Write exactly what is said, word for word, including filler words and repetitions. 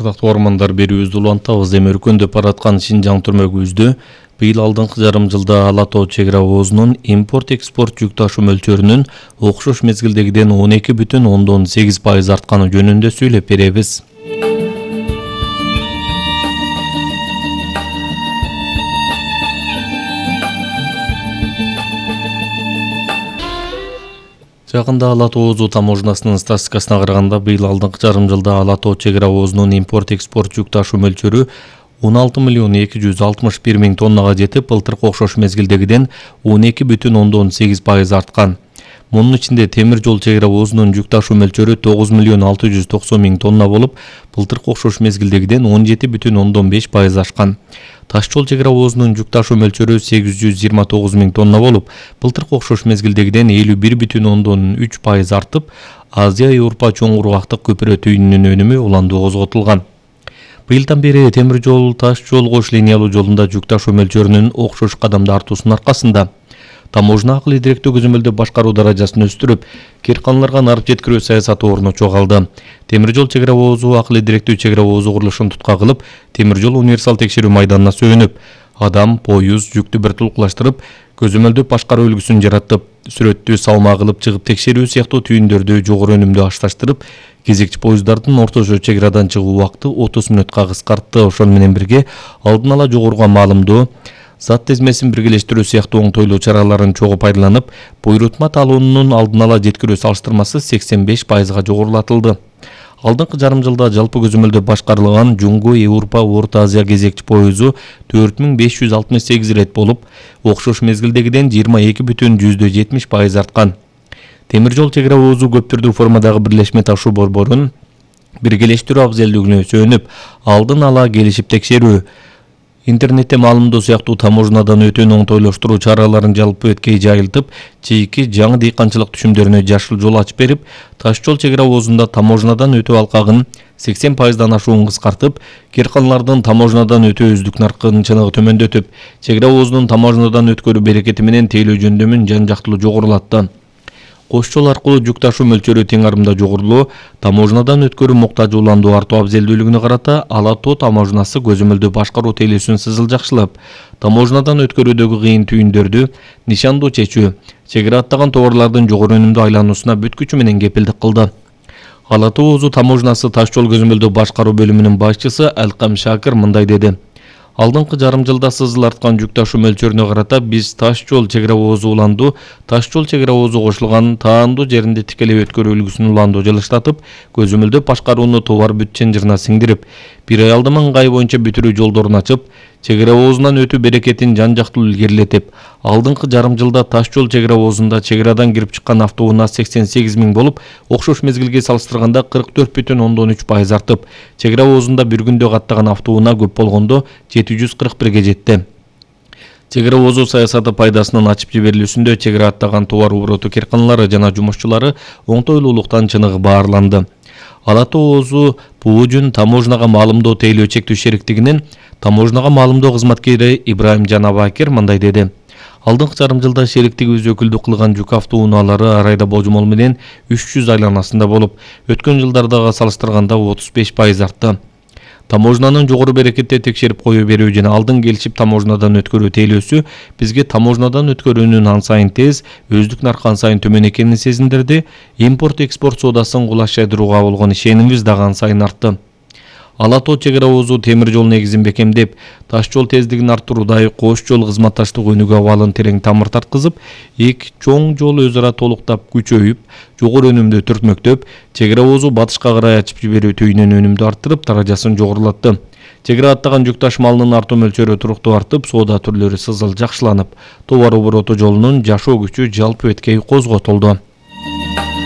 Ардактуу ормандар берүүбүздү улантабыз. Эми өркөндөп бараткан Шинжаң түрмөгүбүздө быйыл алдыңкы жарым жылда Ала тоо чек ара оозунун импорт-экспорт жүк ташуу мөлчөрүнүн окшош мезгилдегиден он эки бүтүн ондон сегиз пайыз артканы жөнүндө сүйлөп беребиз. Жакында Ала тоо таможнасынын статистикасына караганда быйыл алдыңкы жарым жылда Ала тоо чек ара оозунун импорт-экспорт жүк ташуу мөлчөрү он алты миллион эки жүз алтымыш бир миң тоннага жетип, былтыркы окшош мезгилдегиден он эки бүтүн ондон сегиз пайыз арткан. Мунун ичинде темир жол чек ара оозунун жүк ташуу мөлчөрү тогуз миллион алты жүз токсон миң тонна болуп, былтыркы окшош мезгилдегиден он жети бүтүн ондон беш пайыз ашкан. Таш жол чек ара оозунун жүк ташуу мөлчөрү сегиз жүз жыйырма тогуз миң тонна болуп, былтыркы окшош мезгилдегиден элүү бир бүтүн ондон үч пайыз артып, Азия-Европа чоң кургактык көпүрө түйүнүнүн өнүмү уланды козготулган. Быйылдан бери темир жол, таш жол кош линиялуу жолунда жүк ташуу мөлчөрүнүн окшош кадамда артуусунун аркасында таможна акыл идиректүү көзөмөлдөө башкаруу даражасын өстүрүп, кирканларга нарып жеткирүү саясаты орночо калды. Темир жол чек ара оозу акыл идиректүү чек ара оозу курулушун tutка кылып, темир жол универсал текшерүү майданына сөөнүп, адам, поюз, жүктү бир тулукташтырып, көзөмөлдөө башкаруу үлгүсүн жаратып, сүрөттү салма кылып чыгып текшерүү сыяктуу түйүндөрдү жогору өнүмдүү ашташтырып, кезекчи поезддардын орточо чек арадан чыгуу убакыты отуз мүнөткө кыскартты. Ошол менен бирге алдын ала жогоруга маалымдоо, зат тизмесин биргелештирүү сыяктуу оңтойлуу чараларын чогуу пайдаланып, буйрутма талоонунун алдын ала жеткирүү салыштырмасы сексен беш пайызга жогорулатылды. Алдыңкы жарым жылда жалпы көзөмөлдө башкарылган Жуңгу Европа Орто Азия кезекчи поезу төрт миң беш жүз алтымыш сегиз ирет болуп, окшош мезгилдегиден жыйырма эки бүтүн жетимиш пайыз арткан. Темир жол чек ара оозу көп түрдүү формадагы бирлешме ташуу борборун биргелештирүү абзелдүүлүгүнө сөөнүп, алдын ала келишип текшерүү, интернетте маалымдоо сыяктуу таможнадан өтүүнү оңтойлоштуруу чараларын жалпы өткөй жайылтып, чийки жаңы дыйканчылык түшүмдөрүнө жашыл жол ачып берип, таш жол чек ара оозунда таможнадан өтүү алкагын сексен пайыздан ашуун кыскартып, кирканлардын таможнадан өтүү өздүк наркынын чыныгы төмөндөтүп, чек ара оозунун таможнадан өткөрүү берекети менен тейлөө жөндөмүн жан-жактылуу жогорулатты. Кош жол аркылуу жүк ташуу мөлчөрү тең арымда жогорулоо, таможнадан өткөрүү муктажууландуу артуу абзелдүүлүгүнө карата Ала тоо таможнасы көзөмөлдөө башкаруу тейлөөсүн сызылжакчылап, таможнадан өткөрүүдөгү кыйын түйүндөрдү нишандуу чечүү, чек ара аттаган товарлардын жогору өнүмдүү айлануусуна бүт күчү менен кепилдик кылды. Ала тоо таможнасы таш жол көзөмөлдөө башкаруу бөлүмүнүн башчысы Алкам Шакир мындай деди. Алдыңкы жарым жылда сызыл арткан жүк ташуу мөлчөрүнө карата биз таш жол чек ара оозу уланду, таш жол чек ара оозу кошулган таандуу жеринде тикелей өткөрүү үлгүсүн уланду жылыштатып, көзөмөлдөө башкарууну товар бүт чынжырына сиңдирип, бир аялдама ыңгай боюнча бүтүрүү жолдорун ачып, чек ара оозунан өтүү берекетин жан-жактылуу илгерилетип, алдыңкы жарым жылда таш жол чек ара оозунда чек арадан кирип чыккан автоунаа сексен сегиз миң болуп, окшош мезгилге салыштырганда кырк төрт бүтүн ондон үч пайыз артып, чек ара оозунда бир күндө каттаган автоунаа көп болгондо жети жүз кырк бирге жетти. Чек ара оозу саясаты пайдасынын ачып жиберилүүсүндө чек ара аттаган товар обороту кирканалары жана жумушчулары оңтойлуулуктан чыныгы баарланды. Ала тоо бул жөн таможнага маалымдоо тейлөө чектүү шериктигинин таможнага маалымдоо кызматкери Ибраим Жанабакир мындай деди. Алдыңкы жарым жылда шериктигибиз өкүлдүк кылган жүк автоунаалары ар айда божомол менен үч жүз айланасында болуп, өткөн жылдардагы салыштырганда отуз беш пайыз артты. Таможнанын жогору берекетте текшерип коюу берүү жана алдын келишип таможнадан өткөрүү тейлөөсү бизге таможнадан өткөрүүнүн ан сайын тез, өздүк наркы ан сайын төмөн экенин сезиндирди, импорт-экспорт соодасын кулаштырууга болгон ишенимибиз дагы ан сайын артты. Ала тоо чек ара оозу темир жол негизин бекемдеп, таш жол тездигин арттыруудай кош жол кызматташтык өнүгүү абалын терең тамыр тарткызып, эки чоң жол өз ара толуктап күчөйүп, жогору өнүмдүү түртмөктөп, чек ара оозу батышка карай ачып жиберүү түйүнүн өнүмдү арттырып, даражасын жогорулатты. Чек ара аттаган жүк ташмалынын артуу мөлчөрү туруктуу артып, соода түрлөрү сызыл жакшыланып, товар обороту жолунун жашоо күчү жалпы өткөй козготулду.